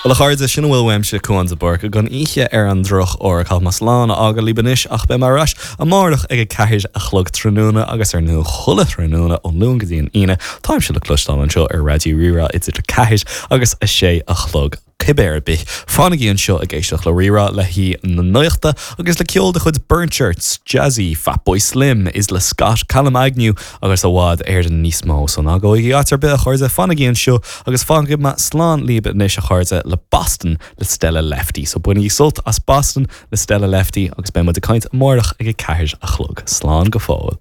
Bhuel a chairde, sin a bhfuil uaimse, Cúán de Búrca, don oíche ar an drochuair. Caithfidh mé slán a fhágáil libh anois ach beidh mé ar ais amárach ag 4 a chlog tráthnóna agus ar ndóigh chuile thráthnóna ón Luan go dtí an Aoine táimse le cloisteáil anseo ar Raidió Rí-Rá idir 4 agus 6 a chlog. Cibé ar bith, fanaigí anseo ag éisteacht le Rí-Rá le haghaidh na nuachta agus le ceol de chuid Burnt Shirts, Jazzy, Fatboy Slim, Isla Scott, Callum Agnew agus i bhfad Éireann níos mó. So ná gabhaigí áit ar bith a chairde, fanaigí anseo agus fágfaidh mé slán libh anois a chairde le Boston le Stella Lefty. So bainigí sult as Boston le Stella Lefty agus beidh muid ag caint amárach ag a ceathair a chlog. Slán go fóill.